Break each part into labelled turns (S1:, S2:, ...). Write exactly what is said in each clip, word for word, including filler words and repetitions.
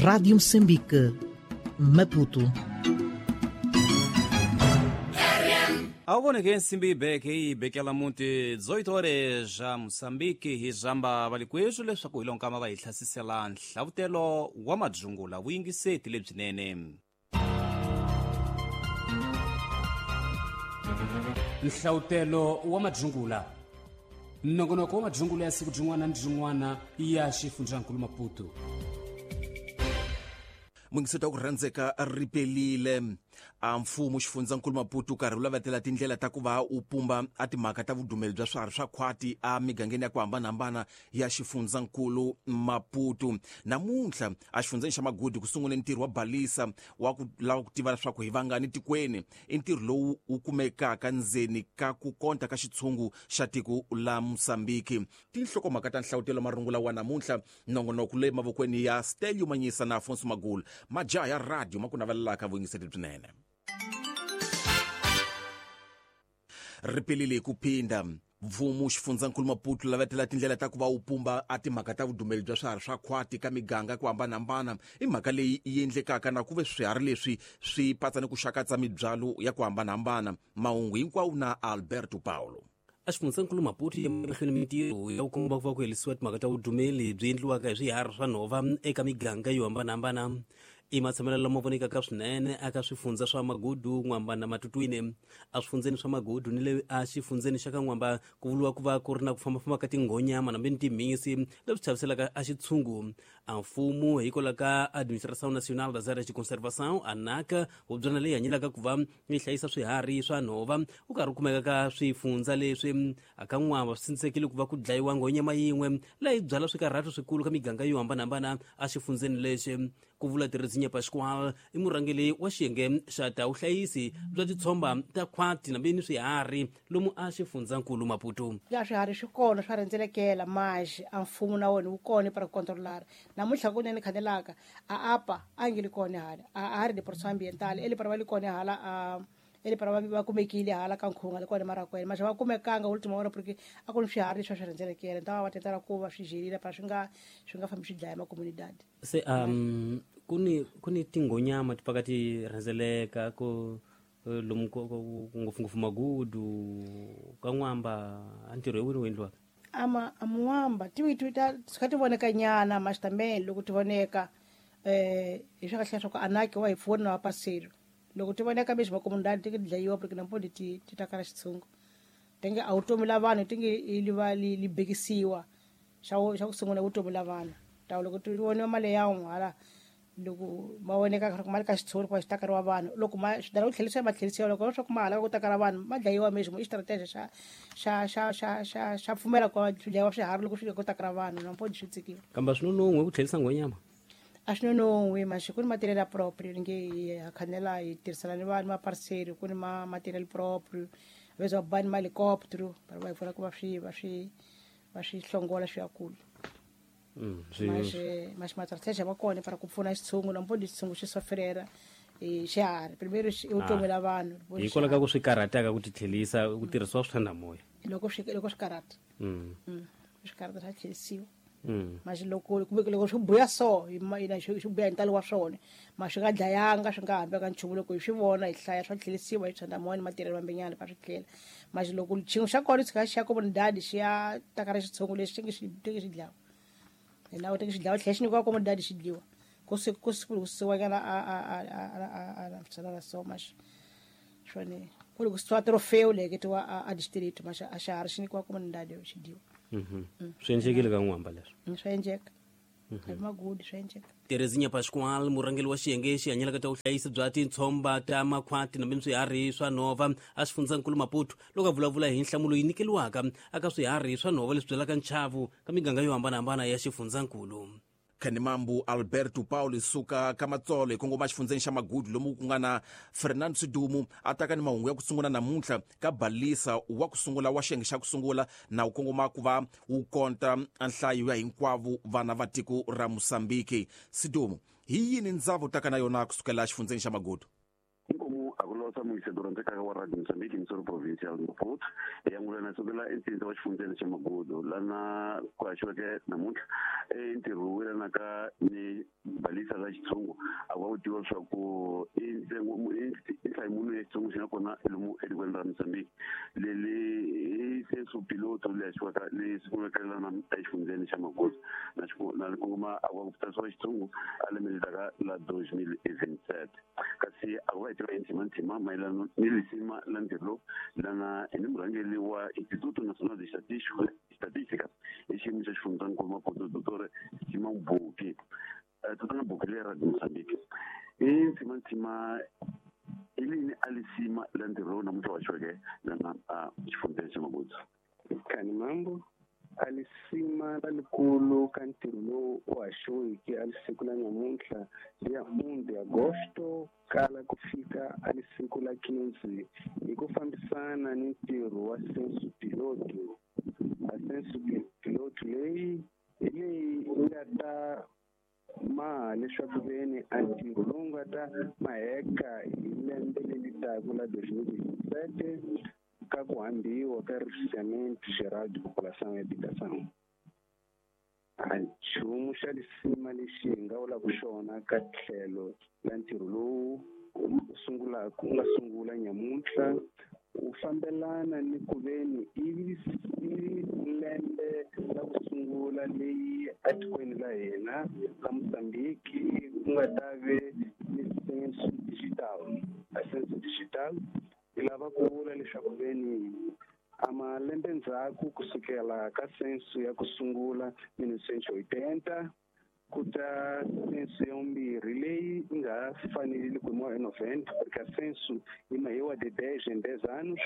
S1: Rádio Moçambique, Maputo.
S2: Awoneke nsimbi ibeke ibekela muti dezoito horas já Moçambique hi zamba valikwezu leswaku hi lonkama va hi hlasisela nhlavutelo wa madzungula vuyingiseti lebyinene.
S3: Nhlavutelo wa madzungula nongonoko wa madzungula ya siku byin'wana ni byin'wana ya xifundzankulu Maputo.
S4: Mungiseti wa ku rhandzeka ripelile a mfumo xifundzankulu Maputo karhi wu lavatela tindlela ta ku va u pumba a timhaka ta vudumeli bya swiharhi swa khwati a migangeni ya ku hambanahambana ya xifundzankulu Maputo. Namuntlha a xifundzeni xa Magudu ku sungule ntirho wa balisa wa ku lava ku tiva leswaku hi vangani tikweni. I ntirho lowu wu kumekaka ndzeni ka ku konta ka xitshungu xa tiko la Mozambique. Tinhlokomhaka ta nhlavutelo marungula wa namuntlha nongonoko le mavokweni ya Stelio Manyisa na Afonso Magula. Majaha ya radio ma ku navelelaka vuyingiseti byinene. Ripelile ku phinda mfumo xifundzankulu Maputo lavatela tindlela ta ku va wu pumba a timhaka ta vudumeli bya swiharhi swa khwati ka miganga ku hambanahambana. I mhaka leyi yi endlekaka na ku ve swiharhi leswi swi patsa ni ku xakatsa mibyalo ya ku hambanahambana. Mahungu hinkwawo na Alberto Paulo.
S3: A xifundzankulu Maputo ya mahlweni mintirho ya ku komba ku va ku herisiwa timhaka ta vudumeli byi endliwaka hi swiharhi swa nhova eka miganga yo hambanahambana. I matshamelo lama vonekaka swinene eka swifundza swa Magudu, N'wamba na Matutwini. A swifundzeni swa Magudu ni le a xifundzeni xa ka N'wamba ku vuriwa ku va ku ri na ku fambafamba ka tinghonyama nambe ni timhisi leswi chaviselaka a xitshungu. A mfumo hikwalaho ka Administração Nacional das Áreas de Conservação, ANAC, hubyana leyi hanyelaka ku va yi hlayisa swiharhi swa nhova wu karhi wu kumeka ka swifundza leswi. Aka N'wamba swi tshamisekile ku va ku dlayiwa nghonyama yin'we leyi byala swikarhato swikulu ka miganga yo hambanahambana a xifundzeni lexi. Ku vula Terezinha Pascoal i murhangeri wa xiyenge xa ta vuhlayisi bya titshomba ta khwati nambe ni swiharhi lomu a xifundzankulu Maputo.
S5: Ya swiharhi swi kona swa rhendzelekela maxi a mfumo na wona wu kona para ku controlar. Namuntlha kunene khanelaka a apa a nge li kona hala a a ri department ambiental eli para va li kona hala a eli para va kumekile hala ka nkhunga le kona marakwena maxa va kumekanga ultima hora porque a ku ni swiharhi leswi swa rhendzelekela ta va tetela ku va swi jelile para swi nga swi nga fambi swi dlaya ma comunidade.
S3: Se um kuni kuni tinghonyama ti paka ti rhendzeleka ku lomu ngopfungopfu Magudu ka N'wamba a ntirho hi wini wu endliwaka?
S5: Ama amuwamba ti ti ta swi ti voneka nyana maxi tambeni loko ti voneka eh hi swa kahle swa ku anaki wa hi pfuna wa paselo loko ti voneka meswi ma comunidade ti dlayiwa porque nampodi ti ti ta kala xitshungu tenge a vutomi la vanhu ti nge li va li li bekisiwa xa xa ku sungula vutomi la vanhu ta loko ti voniwa mali ya n'we hala loko ma voneka ku mali ka xitshungu ku xi takariwa vanhu loko ma swi dala ku tlherisiwa ma tlherisiwa loko swa ku ma hala ku takara vanhu ma dlayiwa meswi i xitarateni xa xa xa xa xa xa pfumela ku swi dlayiwa swiharhi loko swi ku takara vanhu nampodi swi tsikiwa.
S3: Kambe swi nonon'hwe ku tlherisa nghonyama?
S5: A swi nonon'hwe maxi ku ni material proprio ni nge hi khanela hi tirhisana ni vanhu ma parcel ku ni ma material proprio veza va bani ma helicopter va va pfuna ku va swi va swi va swi hlongola swi ya kule.
S3: Mm,
S5: maxi maxi matsarisa va kona para ku pfuna xitshungu nampodi xitshungu xi sofrera i xiharhi primero i vutomi la vanhu
S3: hikwalaho ka ku swi karhataka ku ti tlherisa ku tirhisiwa swithandamoya
S5: loko swi loko swi karhata
S3: mm
S5: swi karhata swa tlherisiwa.
S3: Mm.
S5: Maxi loko kumbe loko swi buya so ina swi buya hi ntalo wa swona ma swi nga dlayanga swi nga hambi ka nchumu loko hi swi vona hi hlaya swa tlherisiwa hi thandamoya ni matirhelo mambenyana va swi tlhela maxi loko xin'we xa kona tshika xi ya comunidade xi ya takara xitshungu lexi xi nge xi teki xi dlawa hi nawu teki xi dlawa tlhela xi nyikiwa comunidade xi dliwa ku se ku kusiwanyana a a a a a a a so maxi swone ku loko swi trofeo leketiwa a district maxi a xiharhi xi nyikiwa comunidade xi dyiwa.
S3: Mhm. Swi endlekile ka N'wamba leswi?
S5: Swi endleka. Hi Magudu swi endleka.
S3: Terezinha Pascoal murhangeri wa xiyenge xi hanyelaka ta vuhlayisi bya tintshomba ta makhwati nambe swiharhi swa nhova a xifundzankulu Maputo loko a vulavula hi nhlamulo yi nyikeliwaka aka swiharhi swa nhova leswi byalaka nchavu ka miganga yo hambanahambana ya xifundzankulu.
S4: Khanimambu Alberto Paulo suka ka Matsolo hi kongoma xifundzeni xa Magudu lomu ku nga na Fernando Sidumu a taka ni mahungu ya ku sungula namuntlha ka balisa wa ku sungula wa xiyenge xa ku sungula na wu kongoma ku va wu konta nhlayo ya hinkwavo vana va tiko ra Mozambique. Sidumu, hi yini ndzavu taka na yona kusukela xifundzeni xa Magudu?
S6: Inkomu akulosa muyiseto rhandzekaka wa Radio Mozambique Missouri Provincial Maputo ya ngulana sukela entsindza wa xifundzeni xa Magudu lana ku haxiweke namuntlha i ntirho wu yelanaka ni balisa la xitshungu a ku va ku tiviwa leswaku i ntsengo i nhlayimunhu ya xitshungu xi nga kona lomu etikweni ra Mozambique leli i censo piloto leyi haxiwaka leyi sungulaka exifundzeni xa Magudu na na kongoma a ku va ku tsarisiwa xitshungu a lembe leri taka la deux mille vingt-sept kasi a ku va hi tiva hi ntsimantsima mayelana ni lisima la ntirho lowu lana hi ni murhangeri wa Instituto Nacional de Estatística i xiyimo xa xifundzankulu Maputo Doctor Simão Buki tatana Buki leyi Radio Mozambique i ntsimantsima i lini a lisima la ntirho lowu namuntlha wa haxiweke lana a xifundzeni xa Magudu.
S7: Kani mambo a lisima lalikulu ka ntirho lowu u haxiweke a lisiku la nyamuntlha ya um de agosto kala ku fika a lisiku la quinze hi ku fambisana ni ntirho wa censo piloto. A censo piloto leyi hi leyi nga ta maha leswaku veni a ntirho lowu nga ta maheka hi lembe leri taka la deux mille vingt-sept ka ku hambiwa ka Recenseamento Geral de População e Habitação. A nchumu xa lisima lexi hi nga vulaka xona ka tlhelo la ntirho lowu sungulaka wu nga sungula nyamuntlha wu fambelana ni ku veni i lembe la ku sungula leyi etikweni la hina la Mozambique ku nga ta ve ni censo digital. A censo digital yi lava ku vula leswaku veni a malembe ndzhaku kusukela ka censo ya ku sungula mille novecentos e oitenta ku ta censo ya vumbirhi leyi yi nga fanelile ku yimiwa hi noventa porque a censo yi mahiwa de dez em dez anos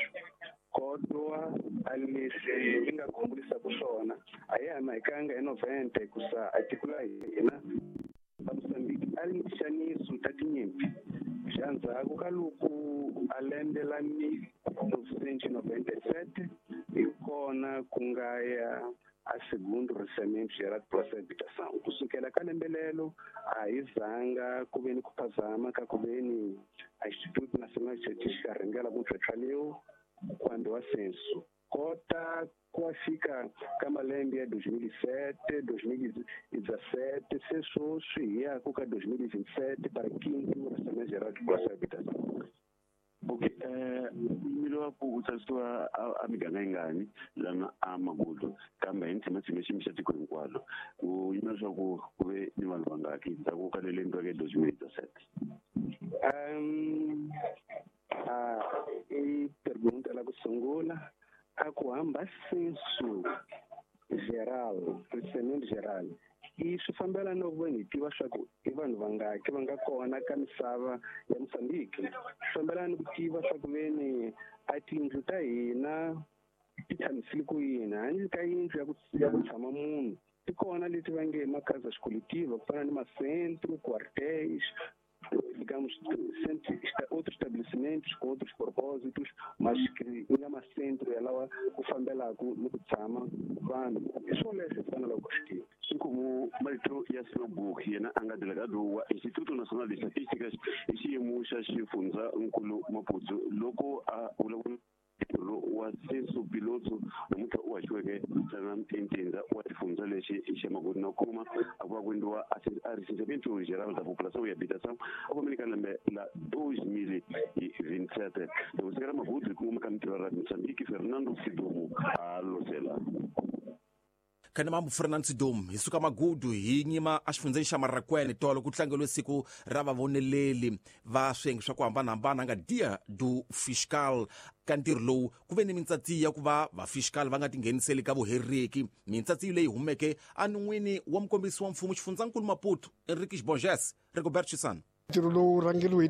S7: kodwa a leswi yi nga khombulisaka swona a ya ha mahikanga hi noventa hikusa a tiko la hina la Mozambique a ri ni xaniso ta tinyimpi xa ndzhaku ka loko a lembe la mille novecentos e noventa e sete hi kona ku nga ya a segundo Recenseamento Geral de População e Habitação. Kusukela ka lembe lelo a hi zanga ku ve ni ku phazama ka ku ve ni a Instituto Nacional de Estatística rhangela ku ntlhontlha lewu ku hambiwa censo kota ku fika ka malembe ya deux mille sete deux mille dezessete se sweswi hi yaku ka deux mille vingt-sept para quinto Recenseamento Geral de População e Habitação.
S6: Okay, eh yimile wa ku tsarisiwa a miganga yingani lana a Magudu kambe hi ntsimantsima xiyimo xa tiko hinkwalo ku yimela leswaku ku ve ni vanhu vangaki ndzhaku ka le lembe ra deux mille dezessete.
S7: Um a i pergunta la ku sungula a ku hamba censo geral, recenseamento geral i swi fambelana no ku hi tiva swa ku i vanhu vangaki va nga kona ka misava ya Mozambique. Swi fambelana ni ku tiva swa ku veni a tiyindlu ta hina ti tshamisile ku yini handle ka yindlu ya ku ya ku tshama munhu ti kona leti va nge makhaza xikolektiva ku fana ni macentro quartéis, digamos, outros estabelecimentos com outros propósitos, mas que nga macentro yalawa ku fambelaka ni ku tshama vanhu. Hi swona leswi faneleke ku swi tiva.
S6: Inkomu marito ya Sinobuki yena a nga delegado wa Instituto Nacional de Estatísticas hi xiyimo xa xifundzankulu Maputo loko a vulavula wa censo piloto namuntlha u haxiweke ntsena entindza wa xifundza lexi xa Magudu na kuma a ku va ku endliwa a Recenseamento Geral da População e Habitação a ku ka lembe la deux mille vingt-sept. Loko sika ra Magudu hi kongoma ka mintirho ra Mozambique Fernando Sidomo a losela.
S4: Kana mambo Fernando Sidomo hi suka Magudu hi nyima a xifundzeni xa Marrakwene tolo ku tlangeliwe siku ra vavoneleli va swiyenge swa ku hambanahambana nga Dia do Fiscal. Ka ntirho lowu ku ve ni mintsatsi ya ku va va-fiscal va nga tingheniseli ka vuheriki mintsatsi leyi humeke enon'wini wa mukombisi wa mfumo xifundzankulu Maputo Henriques Borges Rigoberto Chisano.
S8: Ntirho lowu rhangeriwe hi